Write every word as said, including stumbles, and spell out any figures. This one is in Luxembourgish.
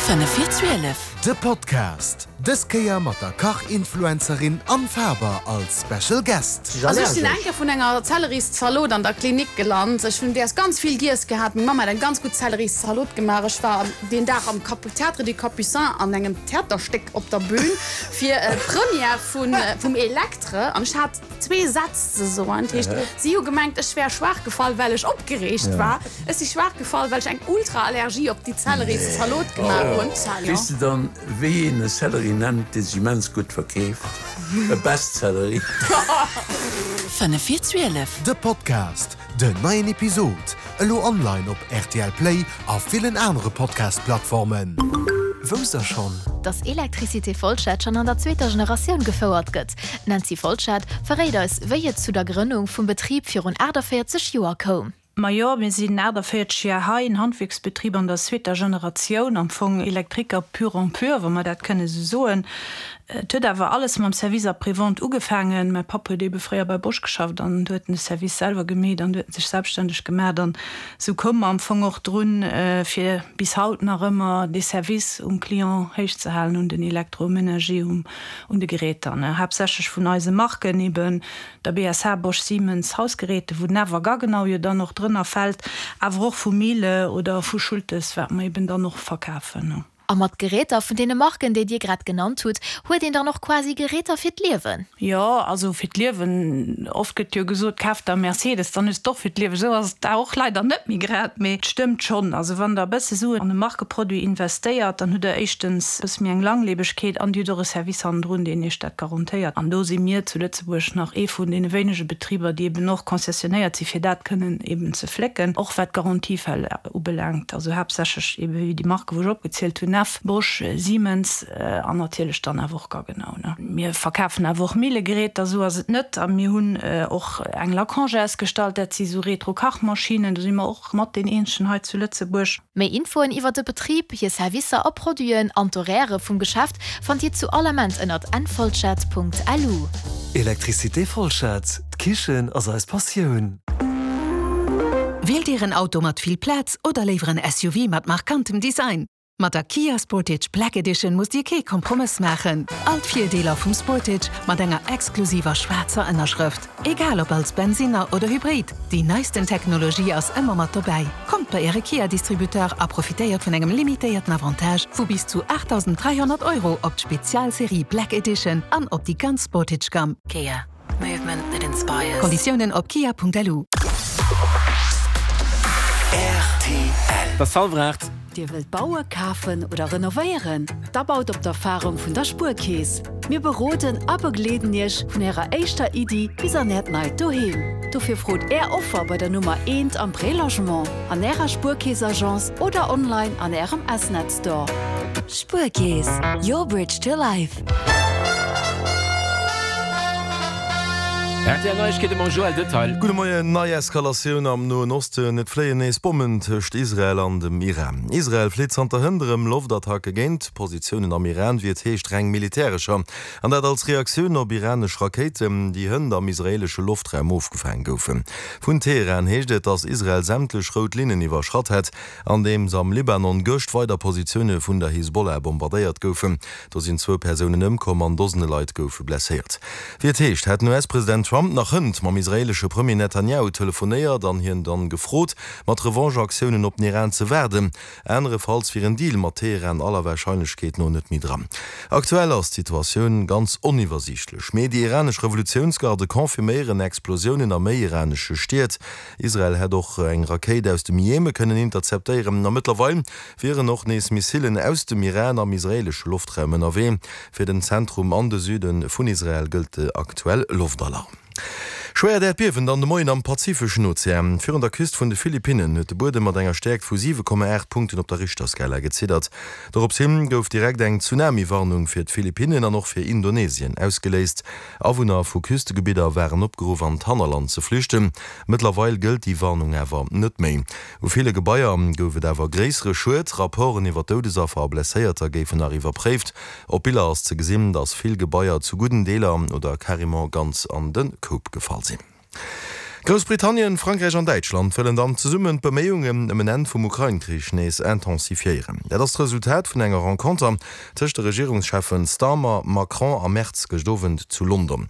Fënnef vir zwielef. De Podcast, dës Kéier mat der Kach-Influencerin Anne Faber als Special Guest. Also ech sinn eng Kéier vun enger Zelleris-Zalot an der Klinik gelant. Ech hunn däers ganz vill giess gehat. Meng Mamm hat eng ganz gutt Zelleris-Zalot gemaach. Ech war deen Dag am Théâtre des Capucins an engem Theaterstéck op der Bühn fir d'Première vun vum Electre an ech hat zwee Sätz ze soen. Dat heescht, si hu gemengt, ech wär schwaach gefall, well ech opgereegt war. Ech si schwaach gefall, well ech eng Ultra-Allergie op déi Zelleris-Zalot gemaach hunn. Weess de dann, wéi een e Sellerie nennt, dee sech immens gutt verkeeft? E Bestsellerie. Fënnef vir zwielef. De Podcast, Den neien Episod elo online op rtl Play a villen anere Podcast-Plattformen. Wousst der schonn? Dass Electricité Folschette schonn an der zweeter Generatioun gefouert gëtt. D'Nancy Folschette verréit eis, wéi et zu der Grënnung vum Betrib virun aachtavéierzeg Joer koum. Majo, mir sinn aachtavéierzeg Joer hei, en Handwierksbetrib an der zweeter Generatioun, am Fong Elektriker pur en pur, wa mer dat kënne sou soen. Et huet awer alles mam Service après-vente ugefaangen. Mäi Papp huet eebe fréier bei Bosch geschafft an du huet en de Service selwer gemeet an du huet en sech selbststänneg gemaacht an sou koum mer am Fong och drun, fir bis haut nach ëmmer dee Service um Client héich ze halen, un den Elektromenager, um un de Geräter, haaptsächlech vun eise Marken, eeben der B S H, Bosch, Siemens, Hausgeräte, wou den Neff a Gaggenau jo dann och drënner fält, awer och vu Miele oder vu Schultes, wat mer eben dann och verkafen. A mat Geräter vun deene Marken, déi Dir grad genannt hutt, huet een dann och quasi Geräter fir d'Liewen? Jo, also fir d'Liewen, oft gëtt jo gesot, kaf der e Mercedes, dann hues de och fir d'Liewen. Esou ass et da och leider net méi grad, mee et stëmmt schonn. Also wann Der e bësse Suen an e Markeproduit investéiert, dann hutt Der éischtens e bësse méi eng Langlebegkeet an Dir hutt och e Service hannendrun, deen Iech dat garantéiert. An do si mir zu Lëtzebuerg nach ee vun deene wéinege Betriber, déi eben och concessionnéiert si fir dat kënnen eben ze flécken, och wat d'Garantiefäll ubelaangt, also haaptsächlech ebe wéi déi Marke wou ech opgezielt hunn, Neff, Bosch, Siemens an natierlech dann awer och Gaggenau. Mir verkafen awer och Millegeräter, esou ass et net. A mir hunn och eng Lacange ausgestallt, dat si sou Retro-Kachmaschinen, do si mer och mat deen eenzegen hei zu Lëtzebuerg. Méi Infoen iwwer de Betrib, hir Servicer a Produiten an d'Horairë vum Geschäft fannt Dir zu all Ament ënnert nfolschert.lu. Electricité Folschert, D'Kichen ass eis Passioun. Wielt Dir en Auto mat vill Plaz oder léiwer en S U V mat markantem Design? Mat der Kia Sportage Black Edition musst Dir kee Kompromëss maachen. All d'Virdeeler vum Sportage mat enger exklusiver schwaarzer Ënnerschrëft. Egal ob als Bensinner oder Hybrid, déi neisten Technologie ass ëmmer mat dobäi. Kommt bei Äre Kia-Distributeur a profitéiert vun engem limitéierten Avantage vu bis zu aachtdausend dräihonnert Euro op d'Spezialserie Black Edition an op déi ganz Sportage-Gamm. Kia. Movement that inspires. Konditiounen op kia Punkt L U. R T L. Et ass hallwer aacht. Dir wëllt bauen, kafen oder renovéieren? Da baut op d'Erfarung vun der Spuerkeess. Mir beroden a begleeden Iech vun Ärer éischter Iddi bis an Äert neit Doheem. Dofir frot Är Offer bei der Nummer eent am Prélogement, an Ärer Spuerkeess-Agence oder online an Ärem S-Net Store. Spuerkeess, your bridge to life. R T L Neiegkeete mam Joël Detail. Gudde Moien. Nei Eskalatioun am Noen Osten, Et fléien nees Bommen tëscht Israel an dem Iran. Israel flitt zanter hënt erëm Loftattacke géint Positiounen am Iran, wéi et heescht reng militärescher. An dat als Reaktioun op iranesch Rakéiten, déi hënt am israeelesche Loftraum ofgefaange goufen. Vun Teheran heescht et, datt Israel sämtlech rout Linnen iwwerschratt hätt, andeems am Libanon gëscht weider Positioune vun der Hisbollah bombardéiert goufen. Do sinn zwou Persounen ëmkomm an Dosene Leit goufe blesséiert. Wéi et heescht, hätt den U S-President Trump nach hënt mam israeelesche Premier Netanjahu telefonéiert an hien dann gefrot, mat Revanche-Aktiounen op den Iran ze waarden. Anerefalls wier en Deal mat Teheran aller Warscheinlechkeet no net méi dran. Aktuell ass d'Situatioun ganz oniwwersiichtlech, mee déi iranesch Revolutiounsgarde confirméieren Explosiounen a méi iranesche Stied. Israel hätt och eng Rakéit aus dem Jeme kënnen interceptéieren a mëttlerweil wieren och nees Missilen aus dem Iran am israeelesche Loftraum ënnerwee. Fir den Zentrum an de Süde vun Israel gëllt aktuell Loftalarm. Schwéiert Äerdbiewen dann de Moien am Pazifeschen Ozean. Virun der Küst vun de Philippinnen huet de Buedem mat enger Stäerkt vu siwe Komma aacht Punkten op der Richterskala geziddert. Dorops hin gouf direkt eng Tsunami-Warnung fir d'Philippinnen an och fir Indonesien ausgeléist. Awunner vu Küstegebidder waren opgeruff an d'Hannerland ze flüchten. Mëttlerweil gëllt déi Warnung awer net méi. U ville Gebaier gouf et awer gréissere Schued. Rapporten iwwer Doudesaffer a Blesséierter géifen nach iwwerpréift. Op Biller ass ze gesinn, datt vill Gebaier zu gudden Deeler oder carrément ganz an de Koup gefall sinn. Groussbritannien, Frankräich an Däitschland wëllen dann zesummen d'Beméiungen ëm en Enn vum Ukrain-Krich nees intensifiéieren. Dat ass d'Resultat vun enger Renconter tëscht de Regierungscheffen Starmer, Macron a Merz gëscht Owend zu London.